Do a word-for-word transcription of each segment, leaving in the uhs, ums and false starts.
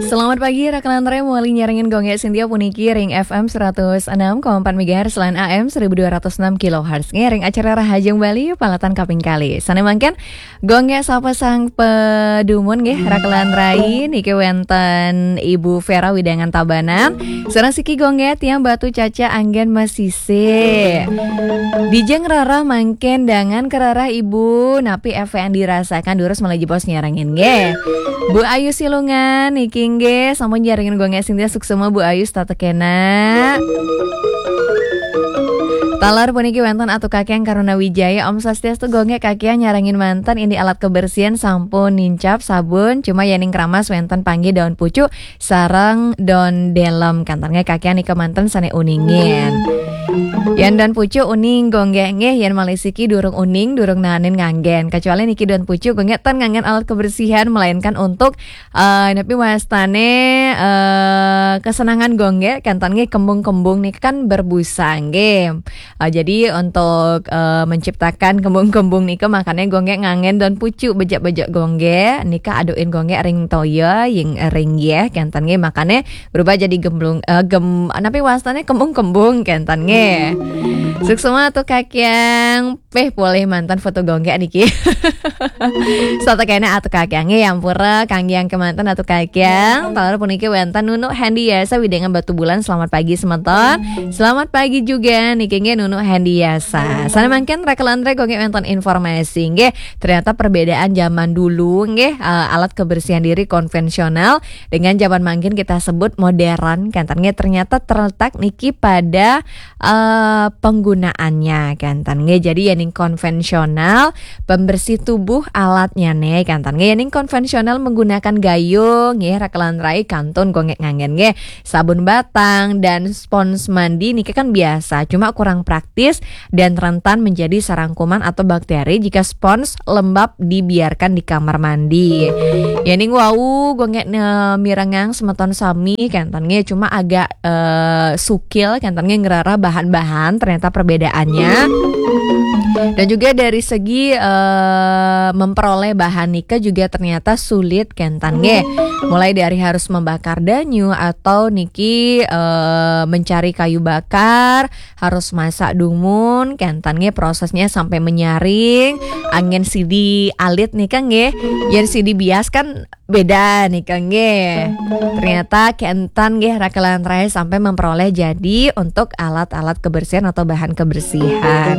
Selamat pagi, Raka lan Rai, mawali nyarengin Gung Gek Sintia puniki ring F M seratus enam koma empat megahertz lan A M seribu dua ratus enam kilohertz. Ngiring acara Rahajeng Bali, palatan kaping kalih. Sané mangkin, Gung Gek sapa sang padumun nggih, Raka lan Rai, niki wénten Ibu Vera Widangan Tabanan. Sareng siki Gung Gek tiang Batu Caca anggén masisih. Dijeng rereh mangkin dangan kerereh Ibu, napi éfék anu dirasakan durus malih jebos nyarengin nggih. Bu Ayu Silungan niki nggih sampun nyarengin Gung Gek Sintia, suksma Bu Ayu setata kénak. Taler puniki wénten Atu Kakiang Karuna Wijaya, Om Swastiastu Gung Gek, Kakiang nyarengin manten, indik alat kebersihan sampun nincap sabun, cuma yéning kramas wénten panggih daun pucuk sareng daun délem, kénten nggih, Kakiang nika manten sané uningin. Yén daun pucuk uning Gung Gek nggih, yén malih siki durung uning, durung naenin nganggén. Kecuali niki daun pucuk Gung Gek ten nganggén alat kebersihan, melainkan untuk, eh, napi wastané, eh, kesenangan Gung Gek, kénten nggih, kembung-kembung niki kan berbusa nggih. Eh, jadi untuk, eh, menciptakan kembung-kembung nika, makané Gung Gek nganggén daun pucuk, bejek-bejek Gung Gek nika aduin Gung Gek ring toya, ying ring yéh, kénten nggih, makané berubah jadi gemblung, eh, gem-, napi wastané, kembung-kembung, kénten nggih. Suksma Atu Kakiang, péh polih manten foto Gung Gek niki. Setata kénak Atu Kakiang nggih, ampura, kanggiang kémanten Atu Kakiang. Taler puniki wénten Nunu Hendiasa Widangan Batubulan, selamat pagi semeton. Selamat pagi juga niki nggih Nunu Hendiasa. Sané mangkin Raka lan Rai, Gung Gek wénten informasi nggih. Ternyata perbedaan zaman dulu nggih, eh, alat kebersihan diri konvensional dengan zaman mangkin kita sebut modern, kénten nggih, ternyata terletak niki pada, eh, penggunaannya, kénten nggih. Jadi yéning konvensional, pembersih tubuh alatnya nih, kénten nggih. Yéning konvensional menggunakan gayung nggih, Raka lan Rai, kantun Gung Gek nganggén nggih, sabun batang dan spons mandi niki kan biasa, cuma kurang praktis dan rentan menjadi sarang kuman atau bakteri jika spons lembab dibiarkan di kamar mandi. Yéning wau Gung Gek ne-, mirengang semeton sami, kénten nggih, cuma agak, eh, sukil, kénten nggih, ngrereh bahan-bahan, ternyata perbedaannya. Dan juga dari segi, eh, memperoleh bahan nika juga ternyata sulit, kénten nggih. Mulai dari harus membakar danyu atau niki, eh, mencari kayu bakar, harus masak dumun, kénten nggih, prosesnya sampai menyaring, anggén sidi alit nika nggih. Yén sidi bias kan beda nika nggih. Ternyata kénten nggih, Raka lan Rai, sampai memperoleh jadi untuk alat-alat kebersihan atau bahan kebersihan.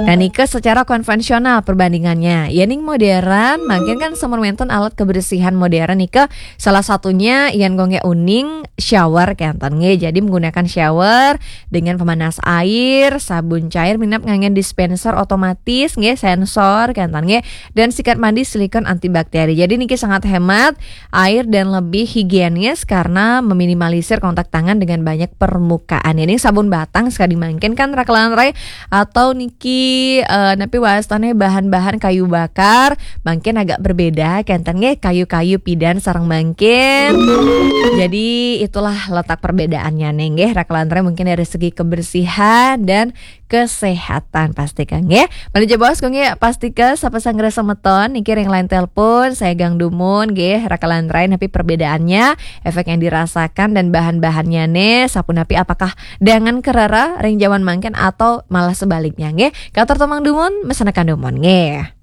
Nah, nika secara konvensional perbandingannya. Yéning modern, mangkin kan sampun wénten alat kebersihan modern nika, salah satunya yén Gung Gek uning, shower, kénten nggih. Jadi menggunakan shower dengan pemanas air, sabun cair, minab nganggén dispenser otomatis nggih, sensor, kénten nggih, dan sikat mandi silikon antibakteri. Jadi niki sangat hemat air dan lebih higienis karena meminimalisir kontak tangan dengan banyak permukaan. Ini sabun batang sekali mangkin kan, Raka lan Rai, atau niki, eh, napi wastané, bahan-bahan kayu bakar, mangkin agak berbeda, kénten nggih, kayu-kayu pidan sareng mangkin. Jadi itulah letak perbedaannya nih nggih, Raka lan Rai, mungkin dari segi kebersihan dan kesehatan pasti kan nggih. Malih jebos Gung Gek, pastika sapa sang semeton niki ring line telepon, sagang dumun nggih, Raka lan Rai, napi perbedaannya, éfék yang dirasakan dan bahan-bahannya nih, sapunapi, apakah dangan kerereh ring zaman mangkin atau malah sebaliknya nggih. Katur tumang dumun, mesenekan dumun nggih.